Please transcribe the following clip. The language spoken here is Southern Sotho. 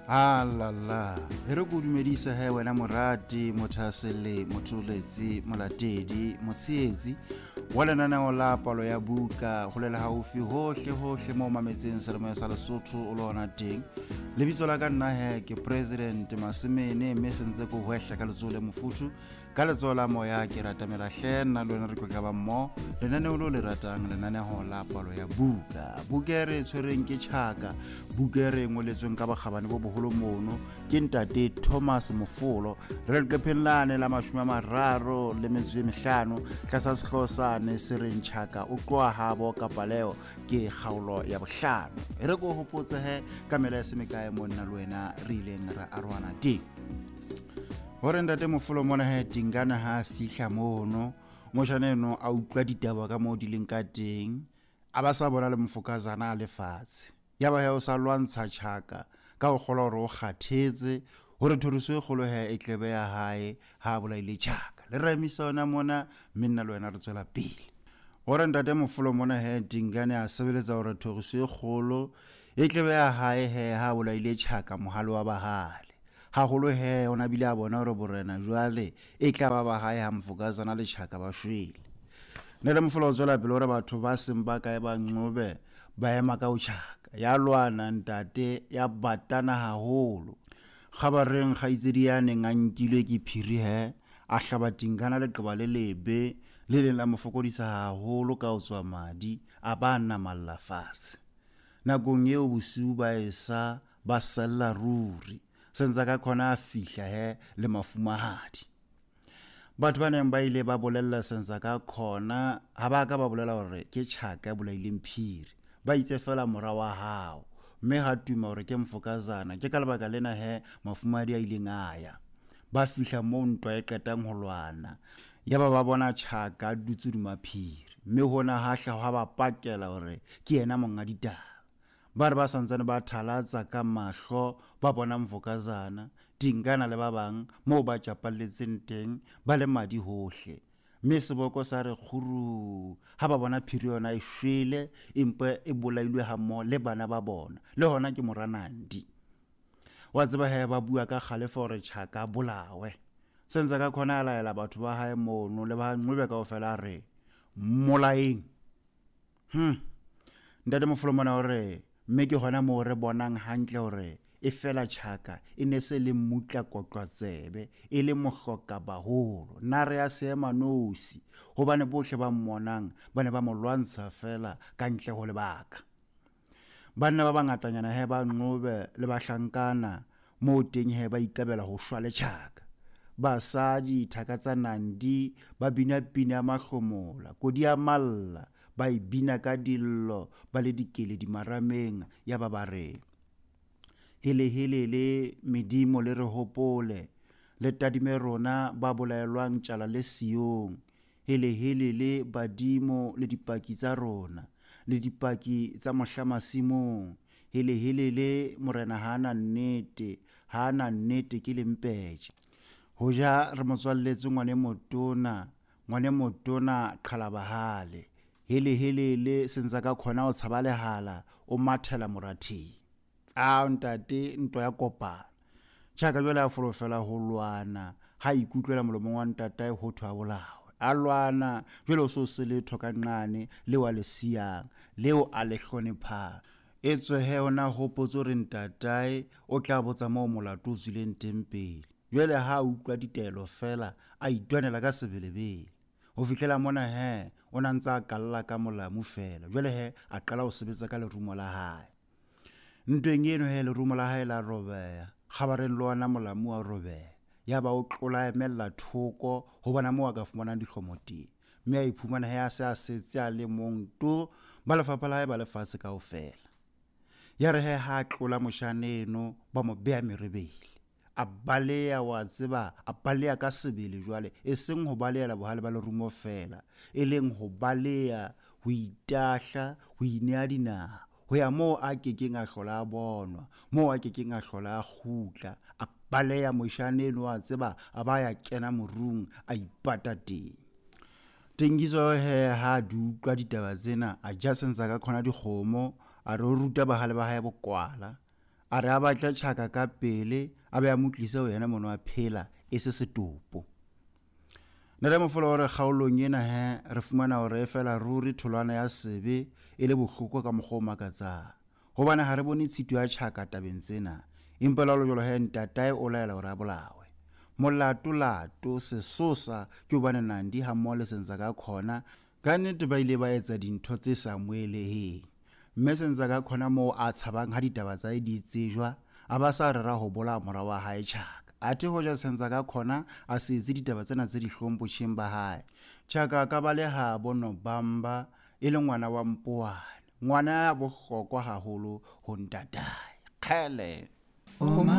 Alala, e re ko dumedise he wena morati, mothasele, motholetsi, molatedi, motsheetsi wa lenaneo la palo ya buka go lela gaufi hohle hohle mo mametseng selemoya sa Lesotho o le ona teng. Lebitso la ka nna he ke President Masemene, mme sentse ko hwehla ka letsoho le mofuthu ka letsoho la moya ke ratamela hle nna le wena re tlotla ba mmoho lenaneo lo le ratang, lenaneo la palo ya buka. Buka e re tshwereng ke Tjhaka, buka e re ngoletsweng ka bokgabane bo boholo mono ke ntate Thomas Mofolo. Re leqepheng lane la 35 tlasa sehlooho sane se reng Tjhaka o tloha habo kapa leo ke kgaolo ya bohlano. E re ko hopotse he ka mela ya se mekae mo nna le wena re ileng ra arohana teng. Hore ntate Mofolo mona he Tingana ha a fihla mono, motjhana eno a utlwa ditaba ka moo di leng ka teng, a ba sa bona le mofokazana a lefatshe. Ya ba he o sa lwantsha Tjhaka ka ho kgolwa hore o kgathetse, hore thoriso e kgolo he e tlebe ya hae ha a bolaile Tjhaka. Le re emisa yona mona, mme nna le wena re tswela pele. Hore ntate Mofolo mona he Tingane a sebeletsa hore thoriso e kgolo e tlebe ya hae he ha a bolaile Tjhaka mohale wa bahale. Haholo he o na bile a bona hore borena jwale e tla ba ba hae ha mofokazana le Tjhaka ba shwele. Ntate Mofolo o tswela pele hore batho ba seng ba kae ba Nqobe ba ema ka ho Tjhaka. Ya lwana ntate, ya batana haholo. Kgabareng kgaitsedi ya neng a nkilwe ke phiri he, a hlaba Tingana leqeba le lebe le leng la mo fokodisa haholo ka ho tswa madi, a ba namalla fatshe. Nakong eo bosiu ba esa ba sella ruri. Sentse ka khona a fihla he le mafumahadi. Batho ba neng ba ile ba bolella Sentse ka khona ha ba ka ba bolela hore ke Tjhaka e bolaileng phiri. Ba itse fela mora wa hao, mme ha tuma hore ke mfokazana. Ke ka lebaka lena he mafumahadi a ileng a ya. Ba fihla moo ntwa e qetang ho lwana. Yaba ba bona Tjhaka a dutse hodima phiri, mme hona ha hla hwa ba pakela hore ke yena monga ditaba. Ba re ba santsane ba thalatsa ka mahlo ba bona mfokazana, Tingana le ba bang moo ba tjapalletseng teng ba le madi hohle. Mme seboko sa re kguruu ha ba bona phiri yona e shwele empa e bolailwe hammoho le bana ba bona, le hona ke mora Nandi. Wa tseba he ba bua ka kgalefo hore Tjhaka a bolawe. Sentse ka khona a laela batho ba hae mono le ba Nqobe kaofela a re mmolaeng. Ntate Mofolo mona o re mme ke hona moo re bonang hantle hore e fela Tjhaka e ne se le mmutla kotlwa tsebe, e le mohloka baholo, nare ya seema nosi, hobane bohle ba mmonang ba ne ba mo lwantsha feela ka ntle ho lebaka. Banna ba bangatanyana he ba Nqobe le bahlankana moo teng he ba ikabela ho shwa le Tjhaka. Basadi thaka tsa Nandi ba bina pina ya mahlomola, kodi ya malla, ba e bina ka dillo ba le dikeledi marameng, ya ba ba re, Helehelele medimo le re hopole, le tadime rona ba bolaelwang tjala le siyong. Helehelele badimo le dipaki tsa rona, le dipaki tsa mohla masimong. Helehelele morena ha na nnete, ha na nnete ke lempetje. Hoja re mo tswalletse ngwane motona, ngwane motona qhala bahale. Helehelele sentse ka khona ho tshaba lehala, o mathela moratheng. A ntate ntwa ya kopana. Tjhaka jwale a folofela ho lwana, ha ikutlwela molomong wa ntatae ho thwe a bolawe. A lwana jwale o so se letho ka nqane leo a le siyang, leo a le hlonephang. Etswe he ona hopotse hore ntatae o tla botsa moo molato o tswileng teng pele. Jwale ha a utlwa ditaelo feela, a itwanela ka sebelebele. Ho fihlela mona he, o na ntse a kalla ka molamu feela. Jwale he, a qala ho sebetsa ka lerumo la hae. Ntweng eno he, lerumo la hae la robeha. Kgabareng le ona molamu wa robeha. Yaba o tlola a emella thoko ho bona moo a ka fumanang dihlomo teng. Mme a iphumana he a se a setse a le mong to, ba lefapha la hae ba lefatshe kaofela. Ya re he ha a tlola moshana eno, ba mo beha merebele. A baleha, wa tseba, a baleha ka sebele jwale, e seng ho balehela bohale ba lerumo feela, e leng ho baleha, ho itahla, ho inea dinaha, ho ya moo a kekeng a hlola a bonwa, moo a kekeng a hlola a kgutla. A baleha moshana eno, wa tseba, a ba ya kena morung, a ipata teng. Tengiso he ha di utlwa ditaba tsena, a ja sentse ka khona dikgomo, a re o ruta bahale ba hae bokwala. A re a batle Tjhaka ka pele a be a mo tlise ho yena mono a phela e se setopo. Ntate Mofolo o re kgaolong ena he re fumana hore e fela ruri tholwana ya sebe e le bohloko ka mokgwa o makatsang. Hobane ha re bone tshito ya Tjhaka tabeng tsena. Empa le ha ho le jwalo he ntatae o laela hore a bolawe. Molato lato sesosa ke hobane Nandi hammoho le Senzangakhona ka nnete ba ile ba etsa dintho tse sa amoheleheng. Mme Senzangakhona moo a tshabang ha ditaba tsa hae di tsejwa a ba sa rera ho bolaya mora wa hae Tjhaka. Athe hoja Senzangakhona a se etse ditaba tsena tse dihlong botjheng ba hae, Tjhaka a ka baleha bo Nobamba e le ngwana wa Mpoane, ngwana ya bohlokwa haholo ho ntatae. Kgele!